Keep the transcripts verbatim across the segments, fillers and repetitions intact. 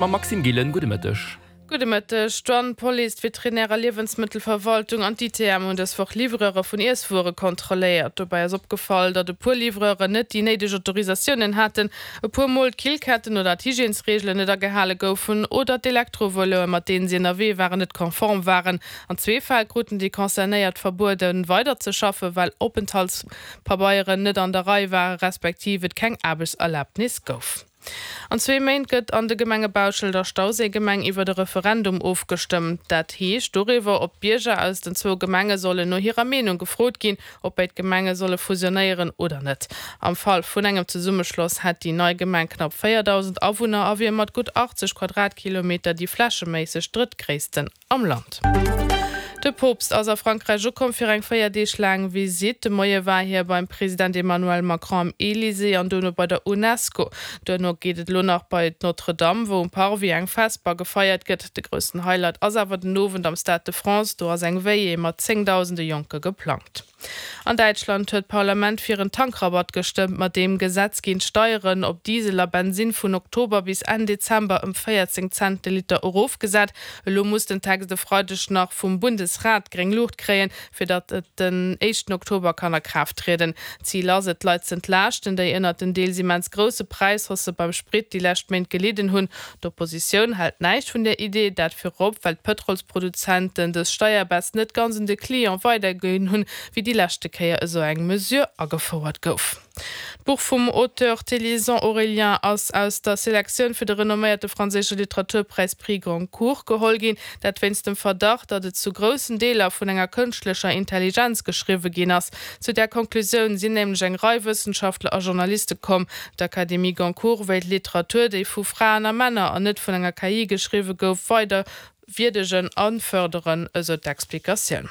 Mam Maxime Gillen, gudde Mëtteg. Gudde Mëtteg. D'Douane, d'Police, d'Veterinär a Liewensmëttelverwaltung an d'ITM hunn dës Woch Livreure vun Iesswuere kontrolléiert. Dobäi ass opgefall, datt e puer Livreuren net déi néideg Autorisatiounen haten, e puer Mol d'Killketten oder d'Hygiènesreegelen net agehale goufen oder d'Elektroveloe mat deenen si ënnerwee waren net konform waren. An zwee Fäll kruten déi Concernéiert verbueden, weiderzeschaffen, well Openthaltspabeieren net an der Rei ware respektiv et keng Aarbechtserlabnis gouf. An zwee Méint gëtt an de Gemenge Bauschelt a Stauséigemeng iwwert e Referendum ofgestëmmt. Dat heescht doriwwer, ob d'Bierger aus den zwou Gemenge sollen no hirer Meenung gefrot ginn, ob béid Gemenge solle fusionéieren oder net. Am Fall vun engem Zesummeschloss hätt déi nei Gemeng knapp véierdausend Awunner a wier mat gutt achtzeg Quadratkilometer déi flächeméisseg drëttgréissten am Land. De Poopst ass a Frankräich ukomm fir eng véier Deeg laang Visitt. De Moie war hie beim President Emmanuel Macron am Elysée an dono bei der Unesco. Duerno geet et elo nach bei d'Notre-Dame, wou um Parvis eng Vesper gefeiert gëtt. De groussen Highlight ass awer den Owend am Stade de France, do ass eng Veillée mat zéngdausende Jonke geplangt. An Däitschland huet d'Parlament fir en Tankrabatt gestëmmt. Mat deem Gesetz ginn d'Steieren op Diesel a Bensinn vun Oktober bis Enn Dezember ëm véierzéng Cent de Liter erofgesat. Elo muss den Text e Freideg nach vum Bundesrat gréng Luucht kréien, fir datt et den éischten Oktober kann a Kraaft trieden. Zil ass et, d'Leit z'entlaaschten, déi ënnert den deels immens grousse Präishaussë beim Sprit déi lescht Méint gelidden hunn. D'Oppositioun hält näischt vun där Idee, dat virop, well d'Pëtrolsproduzenten dës Steierbaisse net ganz un de Client weiderginn hunn, wéi déi leschte Kéier esou eng Mesure agefouert gouf. D'Buch vum Auteur Thélyson Aurélien ass aus der Selektioun fir de renomméierte franséische Literaturpräis Prix Goncourt geholl ginn, dat wéinst dem Verdacht, datt et zu groussen Deeler vun enger kënschtlecher Intelligenz geschriwwe ginn ass. Zu där Konklusioun sinn nämlech eng Rei Wëssenschaftler a Journaliste komm. D'Académie Goncourt wéilt Literatur, déi vu Fraen a Männer an net vun enger K I geschriwwe gouf, weider wierdegen a fërderen, esou d'Explikatioun.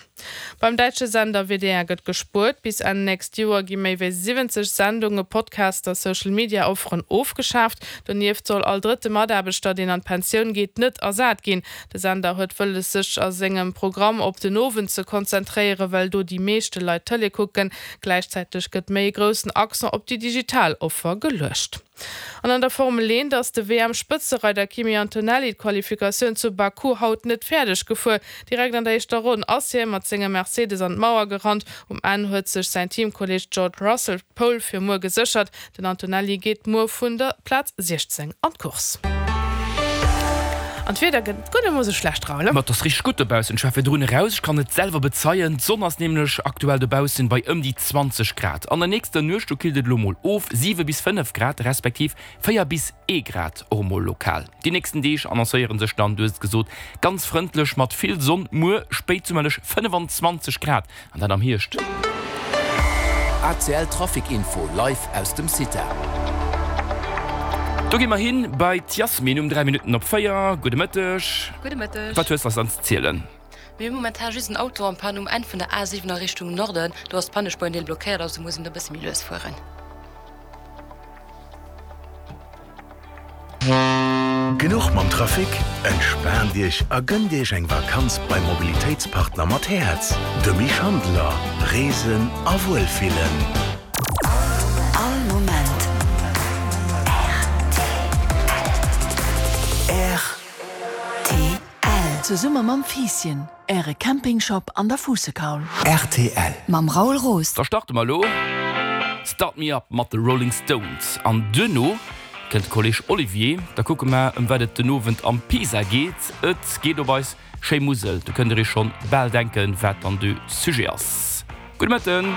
Beim däitsche Sender W D R gëtt gespuert. Bis Enn nächst Joer gi méi wéi siwwenzeg Sendunge, Podcasts a Social-Media-Offeren ofgeschaaft. Donieft soll all drëtte Mataarbechter, deen an d'Pensioun geet, net ersat ginn. De Sender huet wëlles, sech a sengem Programm op den Owend ze konzentréieren, well do déi meeschte Leit Tëlee kucken. Gläichzäiteg gëtt méi e groussen Accent op déi digital Offer geluecht. An an der Formel eent ass de W M-Spëtzereider Kimi Antonelli d'Qualifikatioun zu Baku haut net fäerdeg gefuer. Direkt an der éischter Ronn ass hie mat sengem Mercedes an d'Mauer gerannt. Um Enn huet sech säin Teamkolleeg George Russell d'Pole fir muer geséchert. Den Antonelli geet muer vun der Plaz siechzéng an d'Course. An d'Wieder gëtt guer net mol sou schlecht, Raoul, ne? Ma et ass richteg gutt dobaussen. Ech war virdrun eraus, ech kann et selwer bezeien. D'Sonn ass nämlech aktuell dobaussen bei ëm déi zwanzeg Grad. An der nächster Nuecht, do killt et elo mol of, siwe bis fënnef Grad, respektiv véier bis ee Grad och emol lokal. Déi nächsten Deeg annoncéiere sech dann, du hues et gesot, ganz frëndlech mat vill Sonn. Muer spéitsummerlech fënnefenzwanzeg Grad, an dat am Hierscht. A C L Trafic Info live aus dem CITA. Do gi mer hin bei d'Yasmine um dräi Minutten op véier. Gudde Mëtteg. Gudde Mëtteg. Wat hues de eis dann ze zielen? Mir hu momentan just en Auto en panne um Enn vun der A siwen a Richtung Norden. Do ass d'Pannespuer en Deel blockéiert, also muss een do e bësse méi lues fueren. Genuch mam Trafic? Entspaant Iech a gënnt Iech eng Vakanz beim Mobilitéitspartner mat Häerz, dem Schandler. Reesen a Wuelfillen. All Moment. R T L. R T L. Zesumme mam Fiisschen, Äre Campingshop an der Fuussekaul. R T L. Mam Raoul Roos. Da starte mer elo Start Me Up mat de Rolling Stones. An duerno kënnt de Kolleg Olivier. Da kucke mer, ëm wat et den Owend am Pisa geet. Et geet op eis schéi Musel. Do kënnt der iech schonn bal denken, wat dann de Sujet ass. Gudde Mëtten!